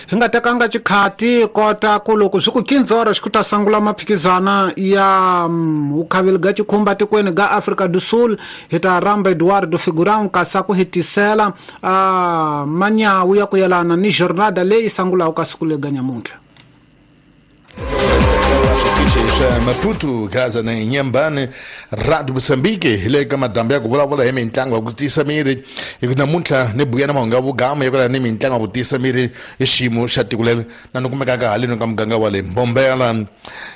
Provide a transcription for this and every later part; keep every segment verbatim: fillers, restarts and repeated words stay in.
Hi nga tekanga xikhati kota ku loko swi ku quinze horas ku ta sangula maphikizana ya vukhaveli ga xikhumba tikweni ga Afrika do Sul. Hi ta rhamba Eduardo Figurão kasi ku hetisela uh, manyawu ya ku yelana ni jornada leyi sangulaka ka siku lega nyamuntlha. Maputo, Gaza na Inhambane, Rádio Moçambique, le ka madambi ya ku vulavula hi mitlangu ya ku tiyisa miri. Hi ku namuntlha ni buya na mahungu ya vugama ya ku ni mitlangu ya ku tiyisa miri hi xiyimo xa tiko leri na ni kumekaka haleni ka muganga wa le Mbombela.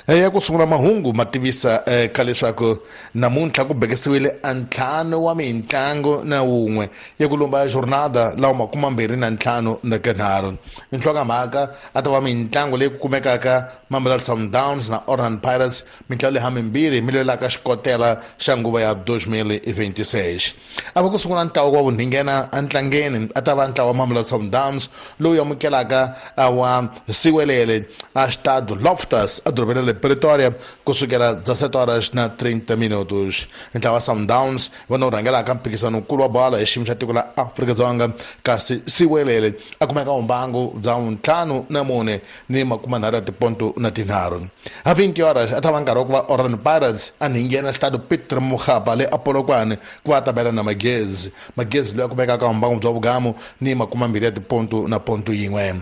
Ya ku sungula mahungu ma tivisa ka leswaku namuntlha ku bekisiwile a ntlhanu wa mitlangu na wun'we ya ku lomba jornada lawa makume mbirhi na ntlhanu na kanharhu. Nhlokomhaka a ta va mitlangu leyi ku kumekaka Mamelodi Sundowns na Orlando Pirates, mitlangu leyi hamimbirhi mi lwelaka xikotela xa nguva ya dois mil e vinte e seis. A va ku sungula ntlawa wa vunhingena entlangeni a ta va ntlawa wa Mamelodi Sundowns lowu amukelaka wa Siwelele a Estado Loftus edorobeni ra le Pretoria kusukela dezessete horas na trinta minutos. Ntlawa wa Sundowns vona wu rhangelaka mphikizano nkulu wa bolo hi xiyimo xa tiko la Afrika-Dzonga, kasi Siwelele a kumeka vumbangu bya ntlhanu na mune ni makume nharhu ya tiponto na tinharhu. A vinte horas a ta va nkarhi wa ku va Orlando Pirates a nghena Estado Peter Mokgapa le Polokwane ku va ta bela na Magezi. Magezi loyi a kumekaka vumbangu bya vugamu ni makume mbirhi ya tiponto na ponto yin'we.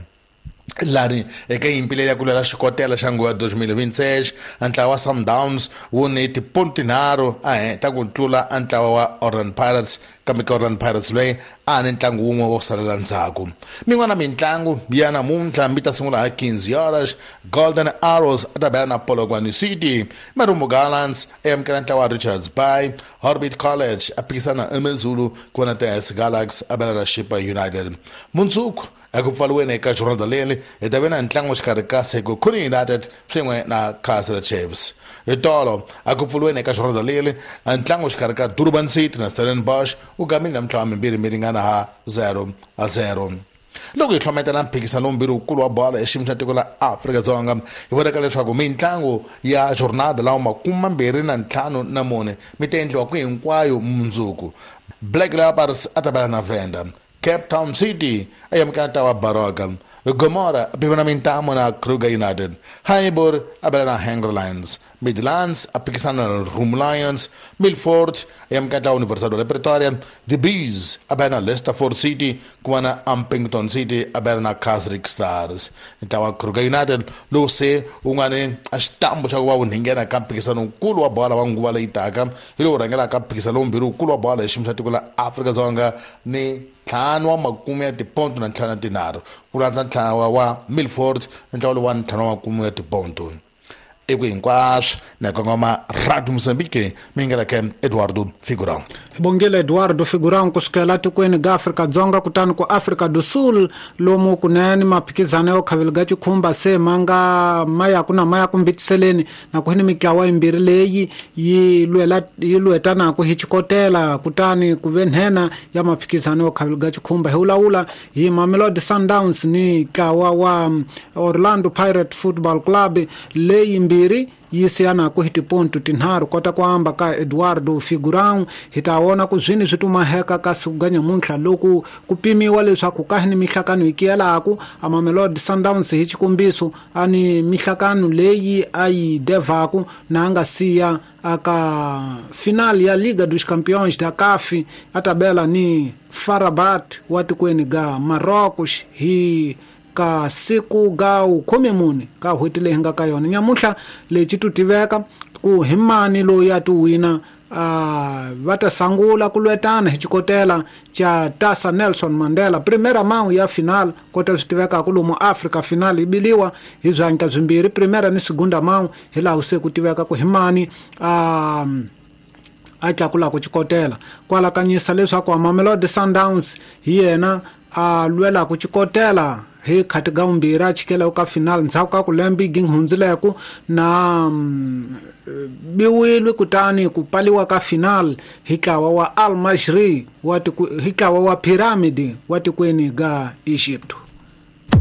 Lani eka nyimpi leyi ya ku lwela xikotela xa nguva ya dois mil e vinte e seis, ntlawa wa Sundowns wu ni tiponto tinharhu a ta ku tlula ntlawa wa Orlando Pirates, kambe ka Orlando Pirates loyi a ni ntlangu wun'we wo salela ndzhaku. Min'wana mitlangu ya namuntlha mi ta sungula hi quinze horas, Golden Arrows a ta bela na Polokwane City, Marumo Gallants a amukela ntlawa wa Richards Bay, Orbit College a phikisana eMezulu ku va na T S Galaxy a bela na Chippa United. Mundzuku eku pfaliweni eka jornada leri hi ta ve na ntlangu xikarhi ka Sekhukhune United swin'we na Kaizer Chiefs. Hi tolo a ku pfuriweni eka jornada leri ntlangu xikarhi ka Durban City na Stellenbosch wu gamile namuntlha wa mimbirhi mi ringana ha zero a zero. Loko hi hlometela mphikizano lombirhi wukulu wa bolo hi xiyimo xa tiko la Afrika-Dzonga, hi vonaka leswaku mitlangu ya jornada lawa makume mambirhi na ntlhanu na mune mi ta endliwa ku hinkwayo mundzuku. Black Leopards a ta bela na Venda, Cape Town City a amukela ntlawa wa Baroka, Gomora a phikizana mintamo na Kruger United, Highbury a bela na Hungry Lions, Midlands a phikisana na Room Lions, Milford a amukela ntlawa wa Universidade de Pretoria, The Bees a bela na Leicesterford City, ku va na Ampington City a bela na Casric Stars. Ntlawa wa Kruger United lowu se wu nga ni a xitambu xa ku va wu nghena ka mphikizano nkulu wa bolo wa nguva leyi taka, hi lowu rhangelaka mphikizano lombirhi wukulu wa bolo hi xiyimo xa tiko la Afrika-Dzonga ni ntlhanu wa makume ya tiponto na ntlhanu na tinharhu, ku landza ntlawa wa Milford ntlawa lowu wa ntlhanu wa makume ya tiponto. Eku hinkwaswo na kongoma Radio Moçambique, mi nga ka Eduardo Figurão. Bongile Eduardo Figurão kusukela tikweni ga Afrika-Dzonga kutani ku Afrika do Sul lomu kunene maphikizano yo khaveli ga xikhumba se manga maya ku na maya ku mbitiseleni na ku hini mitlawa yimbirhi leyi yi lwela yi lwetanaka hi xikotela kutani ku ve nhenha ya maphikizano yo khaveli ga xikhumba. Hi vulavula hi Mamelodi Sundowns ni ntlawa wa Orlando Pirate Football Club leyi mbirhi yi siyanaku hi tiponto tinharhu. Kota ku amba ka Eduardo Figurão hi ta vona ku zwini swi tumaheka ka siku ga nyamuntlha loku ku pimiwa leswaku ka ni mihlakano yi kiyelaku a Mamelodi Sundowns hi xikombiso a ni mihlakano leyi a yi devaku na a nga siya aka final ya Liga dos Campeões da C A F a tabela ni F A R Rabat wa tikweni ga Marrocos hi ka siku ga khume mune ka n'hweti leyi nga ka yona. Nyamuntlha lexi tu tiveka ku hi mani loyi a ti wina a va ta sangula ku lwetana hi xikotela xa Tasa Nelson Mandela primera mão ya final. Kota swi tivekaka lomu Africa final yi biliwa hi swandla swimbirhi, primera ni segunda mão, hi laha se ku tiveka ku hi mani a a tlakulaka xikotela. Kwalakanyisa leswaku Mamelodi Sundowns hi yena a lwelaka xikotela hi khati ga vumbirhi a chikela ka final ndzhaku ka ku lembe yi hundzileku na biwile kutani ku paliwa ka final hi ntlawa wa Al Masry wa hi ntlawa wa Pyramid wa tikweni ga Egypt.